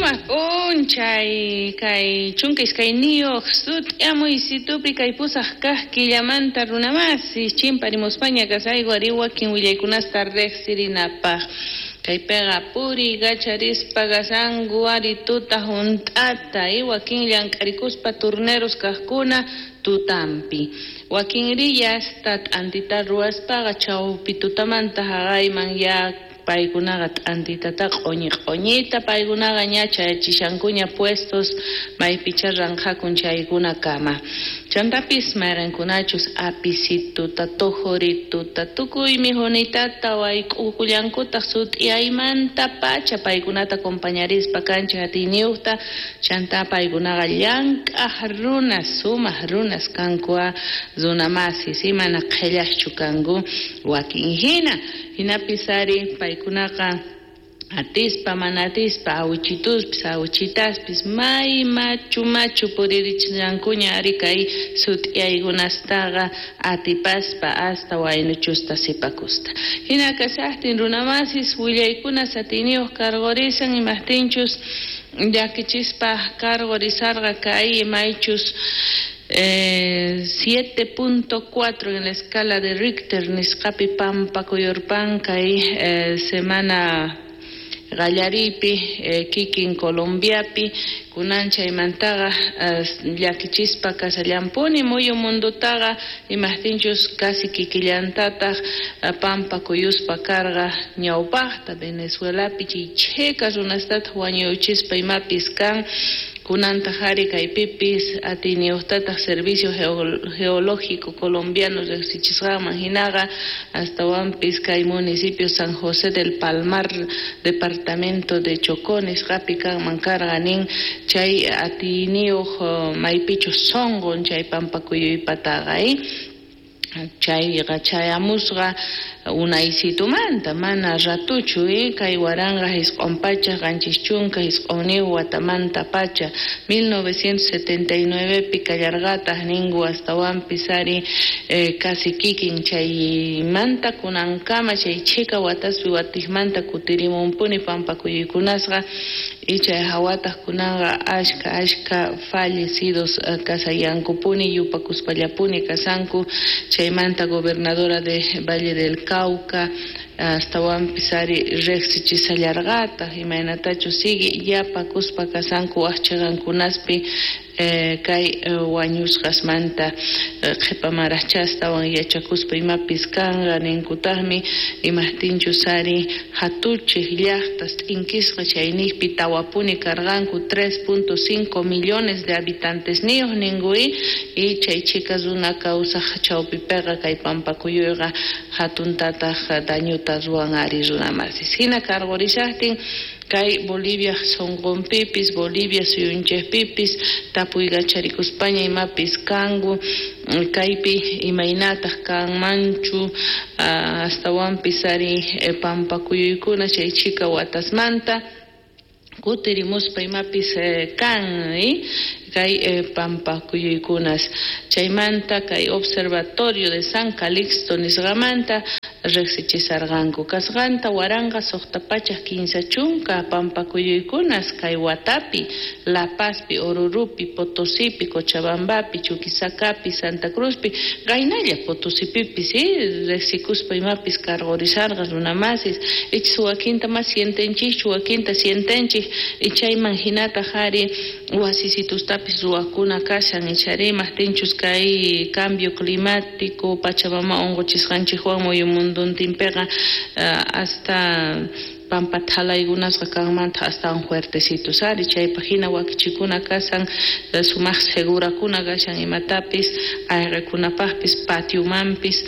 Sumaq p'unchay kay 12 sut'amuysitupi kay 8 kaq killamanta runamasis chimparimuspaña kasayku ari wakin willaykunasta riqsirinapaq. Kaypiqa puriykacharispa kasanku ari tuta hunt'ata y wakin llank'arikuspa turneros kaqkuna tutampi. Wakinri yasta t'antita ruwaspaqa chawpi tutamanta haqayman ya paykunaqa t'antitata q'uñi q'uñita paykunaqa ña chayachishankuña puestos maypicha ranqhakun chaykunakama. Chantapis mayqinkunachus apisituta, tujurituta, tukuy mijunitata wayk'ukullankutaq sut'iyaymanta pacha paykunata compañarispa kanchik atiyniyuqta chanta paykunaqa llank'aq runas, sumaq runas kanku runamasis mana qhillaqchu kanku wakin hina. Hinapis ari paykunaqa atispa mana atispa awichituspis awichitaspis may machu machu puririchishankuña ari kay sut'iyaykunastaqa atipaspa hasta waynuchusta sipakusta. Hina kashaqtin runamasis willaykunas atiyniyuq karqurisan imaqtinchus llakichispa karqurisarqa kay maychus 7.4 en la escala de Richter nisqapi pampa kuyurpan kay semana qallaripi kikin Colombiapi kunan chaymantaqa llakichispa kasallampuni muyu mundutaqa imaqtinchus casi kikillantataq pampa kuyuspa karqa ñawpaqta Venezuelapi chay chhika runastataq wañuchispa imapis kan kunantaq ari kaypipis atiyniyuqtataq Servicio Geológico Colombiano riqsichisqanman hinaqa astawanpis kay municipio San José del Palmar departamento de Chocó nisqapi kanman karqa nin chay atiyniyuq maypichus sunqun chay pampa kuyuypataqa chayqa chayamusqa unaysitumanta mana ratuchu kay 1979 watamanta pacha 1979 pi kallarqataq ninku astawanpis ari casi kikin chaymanta kunankama chay chhika wataspi watiqmanta kutirimunpuni pampa kuyuykunasqa y chay hawataq kunanqa ashka ashka fallecidos kasayankupuni yupakuspallapuni kasanku chaymanta gobernadora de Valle del Cauca astawanpis ari riqsichishallarqataq imaynatachu sigue yapakuspa kasanku wak chiqankunaspi kay wañusqasmanta qhipamaraqcha astawan yachakuspa imapis kanqa ninkutaqmi imaqtinchus ari hatuchiq llaqtas t'inkisqa chayniqpi tawapuni karqanku 3.5 millones de habitantesniyuq ninku y chay chhika runa kawsaq chawpipiqa kay pampakuyuyqa hatuntataq dañuta ruwan ari runamasis. Hina karqurishaqtin kay Bolivia sunqunpipis Bolivia suyunchikpipis tapuykacharikuspaña imapis kanku kaypi imaynataq kanmanchu astawanpis ari pampakuyuykuna chay chhika watasmanta kutirimuspa imapis kan kay pampakuyuykunas chaymanta kay Observatorio de San Calixto nisqamanta riqsichisarqanku kasqanta 1630 pampakuyuykunas kay watapi La Pazpi, Orurupi, Potosipi, Cochabambapi, Chuquisacapi, Santa Cruzpi qaynalla Potosipipis riqsikuspa imapis karqurisarqa runamasis ichis wakinta mas sientenchikchu wakinta sientenchik chayman hinataq ari wasisitustapis ruwakuna kashan ichari imaqtinchus kay cambio climático pachamama unquchisqanchikwan muyu munduntinpiqa hasta pampa thalaykunasqa kanmanta astawan fuertecitos ari chaypaq hina wakichikuna kasan sumaq segurakuna kashan imatapis ayqikunapaqpis patiomanpis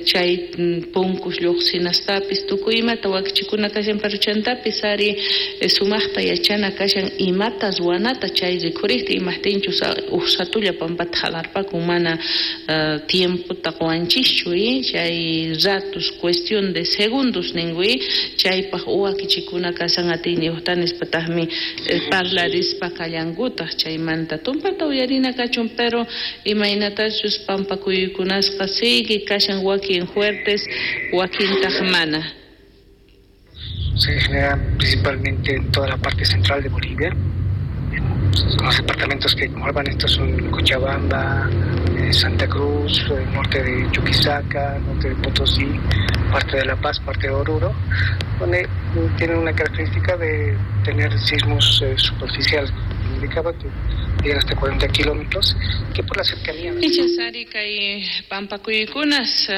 chay punkus lluqsinastapis tukuy imata wakichikuna kashan pero chantapis ari sumaqta yachana kashan imata ruwanata chay rikhuriqta imaqtinchus uj ratulla pampata halarpakun mana tiempota quwanchischu chay ratos cuestión de segundos ninku chay paq wakichikuna kasan atiyniyuqta nispataqmi parlarispa kallankutaq chaymanta tumpata uyarina kachun pero imaynatachus pampakuyuykunasqa sigue kashan wakin fuertes wakintaq mana. Se generan principalmente en toda la parte central de Bolivia. Los departamentos que conforman estos son Cochabamba, Santa Cruz, el norte de Chuquisaca, norte de Potosí, parte de La Paz, parte de Oruro, donde tienen una característica de tener sismos superficiales, como indicaba, que llegan hasta 40 kilómetros, que por la cercanía... Ichas kay pampakuykunas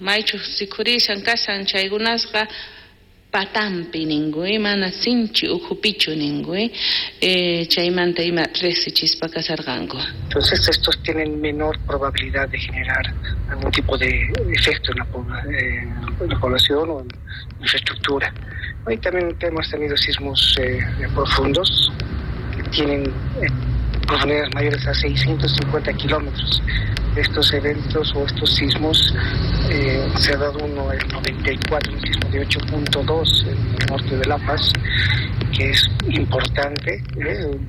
maychu rikhurishan kashan chaykunasqa patampi ninku, mana sinchi ukhupichu ninku, chaymanta ima riqsichispa kasarqanku. Entonces estos tienen menor probabilidad de generar algún tipo de efecto en la población o en infraestructura. Hoy también hemos tenido sismos profundos que tienen profundidades mayores a 650 kilómetros. Estos eventos o estos sismos, se ha dado uno el 94, un sismo de 8.2 en el norte de La Paz, que es importante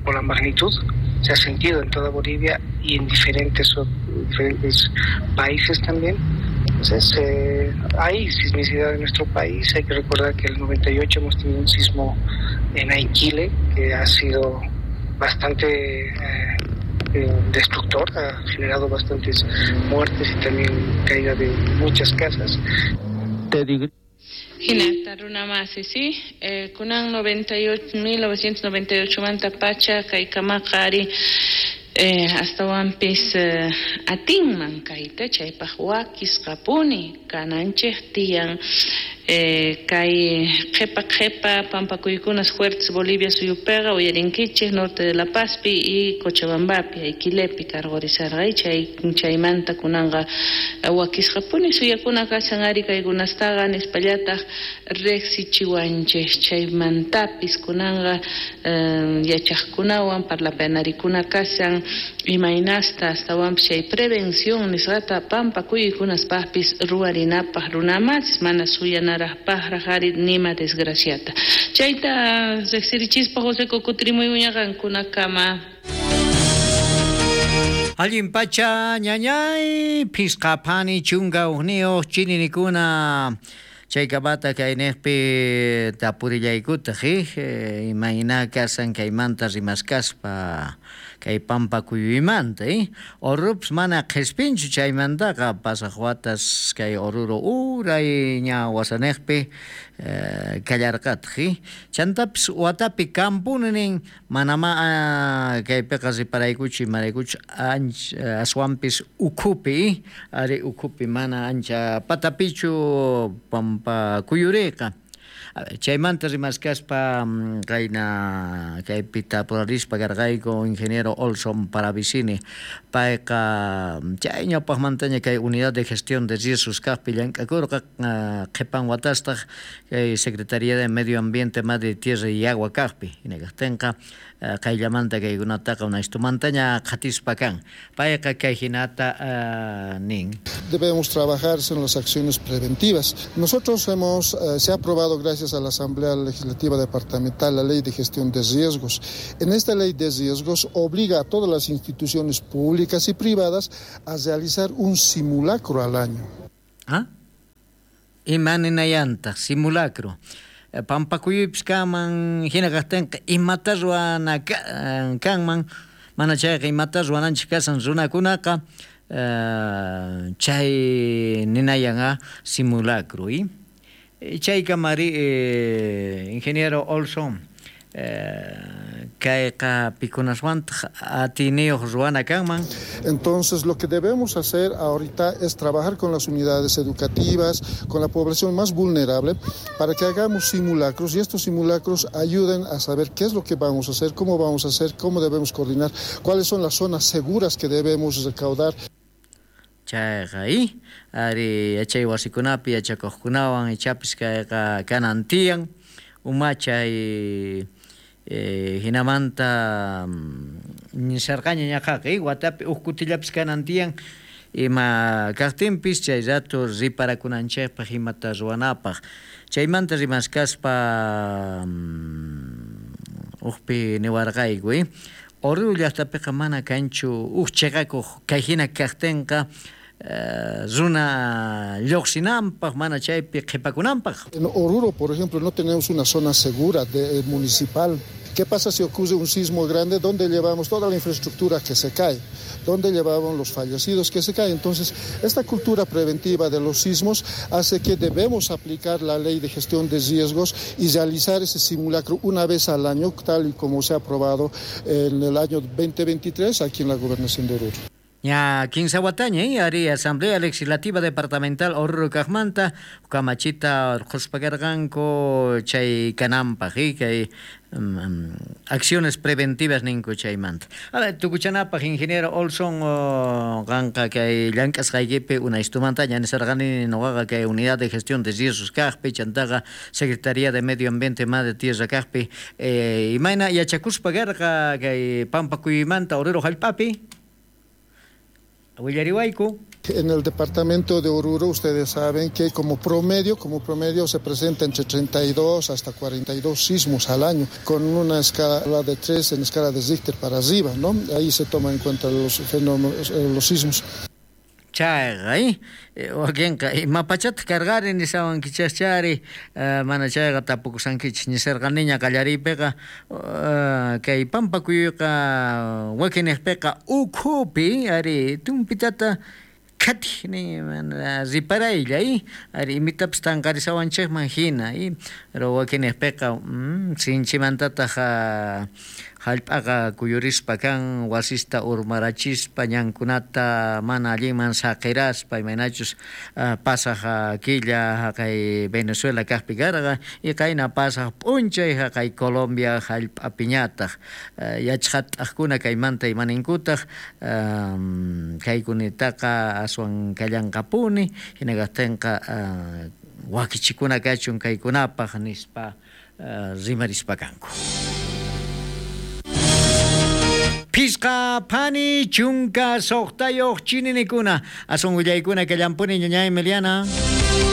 por la magnitud, se ha sentido en toda Bolivia y en diferentes países también. Entonces, hay sismicidad en nuestro país. Hay que recordar que en el 98 hemos tenido un sismo en Aiquile, que ha sido bastante destructor, ha generado bastantes muertes y también caída de muchas casas. Hinata runamasi, sí, kunan 1998 manta pacha kaykamaqa ari astawanpis atinman kayta chaypaq wakisqapuni kananchik tiyan. Kay qhepa qhepa pampakuykunas fuertes Bolivia suyupiqa uyarinkichik norte de La Pazpi y Cochabambapi Aiquilepi karqurisarqa chaymanta kunanqa wakisqapuni suyakuna kashan ari kaykunastaqa nispallataq riqsichiwanchik chaymantapis kunanqa yachaqkunawan parlapanarikuna kashan imaynasta astawanpis chay prevención nisqata pampakuykunaspaqpis ruwarinapaq runamasis mana suyana pajrajari nima desgraciata. Chayta riqsirichispa José Cocutrimuy uñaqankunakama. Allin pacha ñañay pisqa phani chunka uqniyuq chininikuna chaykamata kaynejpi tapurillaykutaq imayna kasan kaymanta rimaskaspa kay pampakuyuymanta Orurupis mana qhispinchu chaymantaqa pasaq watas kay Oruro uray ña wasanejpi kallarqataq chantapis watapi kampuni nin manama kaypiqa riparaykuchu imaraykuchu aswanpis ukhupi ari ukhupi mana ancha patapichu pampakuyuriqa. Chaymanta rimaskaspa kayna kaypi tapurarispa karqayku ingeniero Olson Paravicini payqa chay ñawpaqmantaña kay unidad de gestión de riesgos kaqpi llank'akurqa qhipan watastaq kay Secretaría de Medio Ambiente, Madre Tierra y Agua kaqpi hinakaqtinqa qayllamanta kaykunataqa unaystumantaña qhatispa kan payqa kay hinata nin. Debemos trabajar en las acciones preventivas. Nosotros hemos se ha aprobado gracias a la Asamblea Legislativa Departamental la Ley de Gestión de Riesgos. En esta Ley de Riesgos obliga a todas las instituciones públicas y privadas a realizar un simulacro al año. ¿Ah? Imaninayantaq simulacro. Pampakuyupis kanman hina kaqtinqa imata ruwana kanman mana chayqa imata ruwananchik kasan runakunaqa chay ninayan simulacro. Chaykamari ingeniero Olson kayqa pikunaswantaq atiniyuq ruwana kanman. Entonces lo que debemos hacer ahorita es trabajar con las unidades educativas, con la población más vulnerable, para que hagamos simulacros y estos simulacros ayuden a saber qué es lo que vamos a hacer, cómo vamos a hacer, cómo debemos coordinar, cuáles son las zonas seguras que debemos recaudar. Chayqa ari yachay wasikunapi yachakuqkunawan ichapis kayqa kanan tiyan umachay hinamanta nisarqaña ñaqaqa watapi huk kutillapis kanan tiyan ima kaqtinpis chay rato riparakunanchikpaq imata ruwanapaq chaymanta rimaskaspa hukpi niwarqayku Oruro llaqtapiqa mana kanchu huk chiqakuq kay hina kaqtinqa Runa lloqsinanpaq, mana chaypi qhipakunanpaq. En Oruro, por ejemplo, no tenemos una zona segura municipal. ¿Qué pasa si ocurre un sismo grande? ¿Dónde llevamos toda la infraestructura que se cae? ¿Dónde llevamos los fallecidos que se caen? Entonces, esta cultura preventiva de los sismos hace que debemos aplicar la ley de gestión de riesgos y realizar ese simulacro una vez al año, tal y como se ha aprobado en el año 2023 aquí en la Gobernación de Oruro. Ña kinsa wataña, ari, Asamblea Legislativa Departamental Oruro kaqmanta kamachita urqhuspa karqanku chay kananpaq, kay acciones preventivas ninku chaymanta. A ver, tukuchanapaq, ingeniero Olson, qanqa kay llank'asqaykipi unaystumantaña nisarqani nuqaqa kay Unidad de Gestión de Riesgos kaqpi, chantaqa Secretaría de Medio Ambiente Madre Tierra kaqpi, imayna yachakuspa karqa kay pampakuymanta Oruro hallp'api? Willariwayku. En el departamento de Oruro, ustedes saben que como promedio se presenta entre 32 hasta 42 sismos al año, con una escala de 3 en escala de Richter para arriba, ¿no? Ahí se toman en cuenta los fenómenos, los sismos. Chayqa, wakinqa imapachata cargari nisawankichashchari, mana chayqa tapukusankichis nisarqaniña qallariypiqa, kay pampakuyqa wakiniqpiqa ukhupi, ari, tumpitata khatij ni mana riparaylla, ari, imitapas tanqarisawanchikman hina, pero wakiniqpiqa sinchimantataq hallp'aqa kuyurispa kan, wasista urmarachispa, ñankunata mana allinman saqiraspa, imaynachus pasaq killa haqay Venezuela kaqpi karqa, y qayna pasaq p'unchay haqay Colombia hallp'apiñataq yachqat'aqkuna kaymanta imaninkutaq, kaykunitaqa aswan kallanqapuni, hina kaqtinqa wakichikuna kachun kaykunapaq nispa rimarispa kanku. Pisqa phani chunka suqtayuq chininikuna, asun willaykuna kallampuni ñañay Emiliana.